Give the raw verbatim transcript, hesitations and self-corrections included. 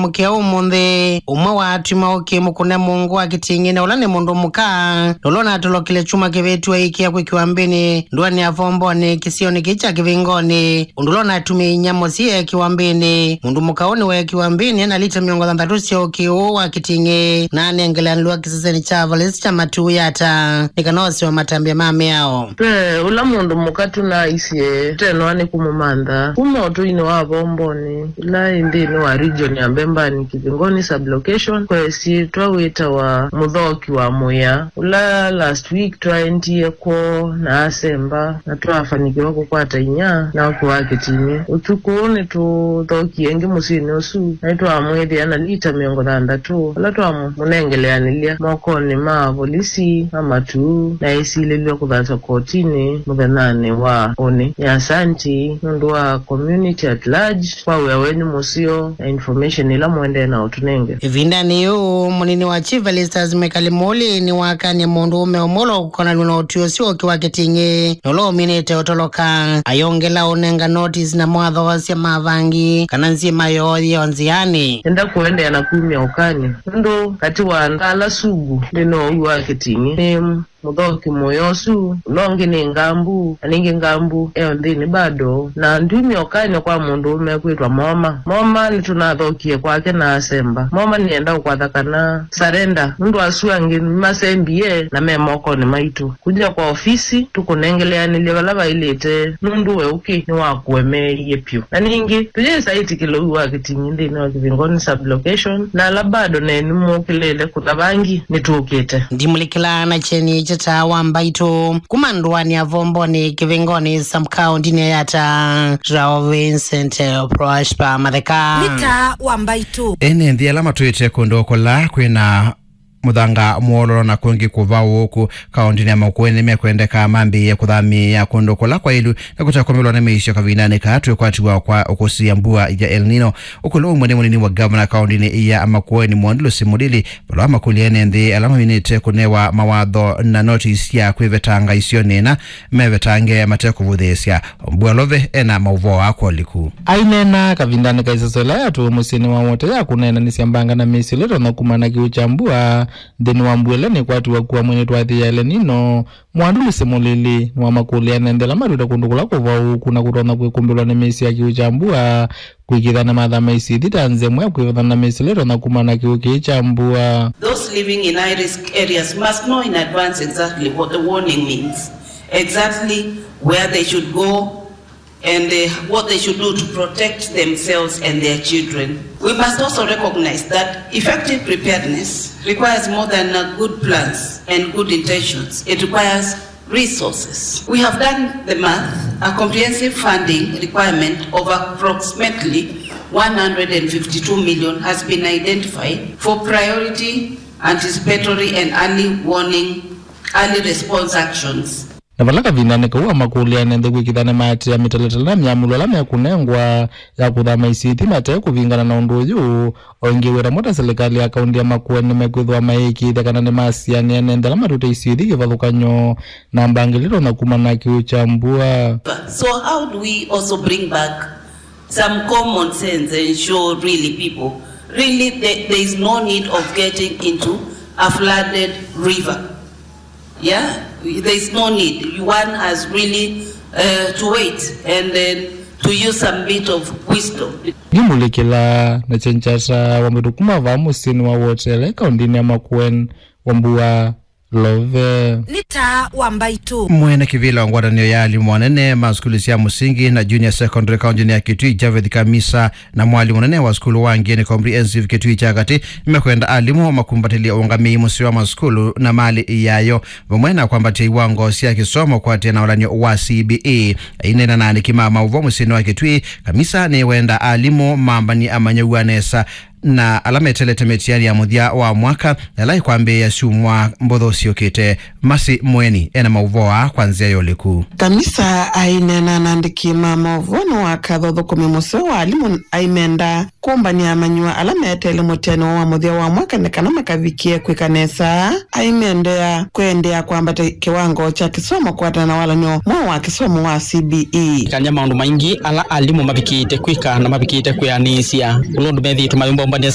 Mũkĩa ũmũnthĩ, ũmwe wa atwi ma ũkĩ mũkũne mũngũ wa Kĩting'ĩ, na ũla nĩ mũndũ mũka, na ũla ũnatolokile kyumwa kĩvĩtu aikĩa kwĩkĩwa mbĩnĩ ndũanĩ ya Vomboni kĩsionĩ kĩĩ kya Kĩvingoni, ũndũ ũla ũnatumie inyia mũsyĩ ekĩwa mbĩnĩ. Mũndũ mũka ũũ nĩweekĩwa mbĩnĩ ena lita mĩongo thanthatũ sya ũkĩ ũũ wa Kĩting'ĩ, na anengeleanĩlwa kĩsesenĩ kya volisi kya Matuu Yatta nĩ kana osewe matambya ma mĩao. Ve ũla mũndũ mũka tũnaisye tũtenoa nĩ kũmũmantha kuma ũtũinĩ wa Vomboni, ĩla ĩ nthĩnĩ wa region ya Mbembani, Kĩvingoni sub-location, kwa ĩsyĩtwa wĩtawa Mũthoki wa Mũya, ũla last week twaendie kwoo na asemba na twafanikiwa kũkwata inyia na ũkĩ wa Kĩting'ĩ. Ũtukũ ũũ nĩtũthokie ĩngĩ mũsyĩnĩ ũsu na nĩtwamwĩthĩa na lita mĩongo thanthatũ, ala twamũnengeleanĩlya mokonĩ ma volisi ma Matuu na esilĩlw'a kũthatwa kotinĩ mũthenyanĩ wa ũnĩ. Nĩ asanti nũndũ wa community at large kwa wĩa wenyu mũseo na information ĩla mũendee na ũtũnenge. Ĩvindanĩ yĩu, mũnini wa Chief Felicitas Mwikali Mũli nĩwakanie mũndũũme ũmwe ũla ũkonanw'a na ũtwi ũsu ũkĩ wa Kĩting'ĩ na ũla ũminĩte ũtoloka. Ayongela ũnenga notice na mawatho sya mavangi kana nzima yoo yĩ o nzĩanĩ. Enda kũendeea na kumya ũkany'o nũndũ katĩ wa andũ ala sugu nthĩnĩ wa ũw'o wa Kĩting'ĩ nĩ Mũthoki Mũya ũsu, ũla ũngĩ nĩ Ngambu, na ningĩ Ngambu e o nthĩnĩ bado. Na ndumya ũkany'o kwa mũndũũme kwĩtwa Moma. Moma nĩtũnathokie kwake na asemba. Moma nĩenda ũkwatha kana surrender, nũndũ asu angĩ nĩmasembie na me mokonĩ maitũ. Kuja kwa ofisi, tũkũnengeleanĩlye vala vaĩlĩte, nũndũ we ũkĩ nĩwakũemeeie vyũ. Na ningĩ, tũyĩsa ĩtĩkĩla ũw'o wa Kĩting'ĩ nthĩnĩ wa Kĩvingoni sub-location, na ala bado nenyu mũkĩlĩle kũtha vangi, nĩtũkĩte. Ndimũlikĩla na kyeni kya Taa wa Mbaitũ kuma ndũanĩ ya Vomboni Kĩvingoni sub-county-nĩ ya Yatta, Rao Vincent Prosper Matheka. Nĩ Taa wa Mbaitũ. Ene nthĩ ala matwĩte kũndũ kũla kwĩna mũthanga mwololo na kũngĩ kũvaũũku kaũndĩnĩ ya Makueni nĩmekwendeka mambĩĩe kũthamĩĩa kũndũ kũla kwailu na kũtekũmĩlwa nĩ mĩisyo kavindanĩ kaa twĩkwatiwa kwa ũkũsĩĩa mbua ya El Nino. Ũkũlũ ũmwe nĩ mũnini wa gavana kaũndĩnĩ ya Makueni, Mwandu Lucy Mulili, vala wamakũlya ene nthĩ ala maminĩte kũnewa mawatho na notisi sya kwĩvetanga isionĩ ĩna mevetange matekũvũthĩĩsya. Mbua Love ena maũvoo aa kwa ũliku. Aineena kavindanĩ ka ĩsasyo ĩla yatũwe mũsyĩnĩ wa Wote ya kũneenanĩsya mbanga na mĩisyo ĩla ĩtonya kumana na kĩw'ũ kya mbua nthĩnĩ wa mbua ĩla nĩkwatiwa kua mweinĩ twathĩ ya El Nino, Mwandu Lucy Mulili nĩwamakũlya ene nthĩ ala matwĩte kũndũ kũla kũvaũũku na kũtonya kwĩkũmbĩlwa nĩ mĩisyo ya kĩw'ũ kya mbua kwĩkĩĩthya nĩmathama isio ithi ta nzĩa ĩmwe ya kwĩvethana na mĩisyo ĩla ĩtonya kumana na kĩw'ũ kĩĩ kya mbua. Those living in high risk areas must know in advance exactly what the warning means, exactly where they should go, and, uh, what they should do to protect themselves and their children. We must also recognize that effective preparedness requires more than, uh, good plans and good intentions. It requires resources. We have done the math. A comprehensive funding requirement of approximately one hundred and fifty-two million has been identified for priority, anticipatory and early warning, early response actions. Na vala kavindanĩ kau wamakũlya ene nthĩ kwĩkĩĩthya nĩmaatĩĩa mĩtalatala na myamũlo ĩla mekũnengwa ya kũthama isio ithi mate kũvingana na ũndũ ũyũ. O ĩngĩ, wĩra mwa ta silikalĩ ya kaũntĩ ya Makueni nĩmekwĩthĩwa mayĩkĩĩthya kana nĩmasianĩa ene nthĩ ala matwĩte isio ithi kĩvathũkany'o na mbanga ĩla ĩtonya kumana na kĩw'ũ kya mbua. So how do we also bring back some common sense and show really people, really there, there is no need of getting into a flooded river? Yeah, there is no need. One has really, uh, to wait and then to use some bit of wisdom. Ndimũlikĩla na kyenjata wa mbĩtũ kuma vaa mũsyĩnĩ wa Wote, kaũntĩnĩ ya Makueni, Wambua Love. Nĩ Taa wa Mbaitũ. Mwene kĩvĩla wa ngwatanĩo ya alimũ anene ma sukulu sya mũsingi na junior secondary kaũntĩnĩ ya Kitui, Javeth Kamisa, na mwalimũ mũnene wa sukulu wa Ngeni Comprehensive Kitui kya Katĩ, nĩmekwenda alimũ makumbatĩlye ũngamĩi mũseo wa masukulu na malĩ yayo, vamwe na kwambatya iwango sya kĩsomo kũatĩĩa na ũlan'yo wa C B E. Aineena na aandĩki ma maũvoo mũsyĩnĩ wa Kitui, Kamisa nĩwenda alimũ mambany'e amanyĩw'a nesa na ala meteelete mĩtiani ya mũthya wa mwaka, ĩla ĩkwambĩĩa syumwa mbũthũ syũkĩte. Masi Mweni ena maũvoo aa kwa nzĩa ya ũliku. Kamisa aineena na andĩki ma maũvoo nĩ wakatha ũthũkũmi mũseo wa alimũ aimenda kũmbany'a amanyĩw'a ala meteele mũtiani wa mũthya wa mwaka nĩ kana makavikĩe kwĩka nesa. Aimendea kũendeea kwambatya kĩwango kya kĩsomo kũatana na walan'yo mweũ wa kĩsomo wa C B E. Kanya maũndũ maingĩ ala alimũ mavikĩte kwĩka na mavikĩte kwĩanĩĩsya. Ũla ũndũ methĩĩtwe mayũmba ũmbany'a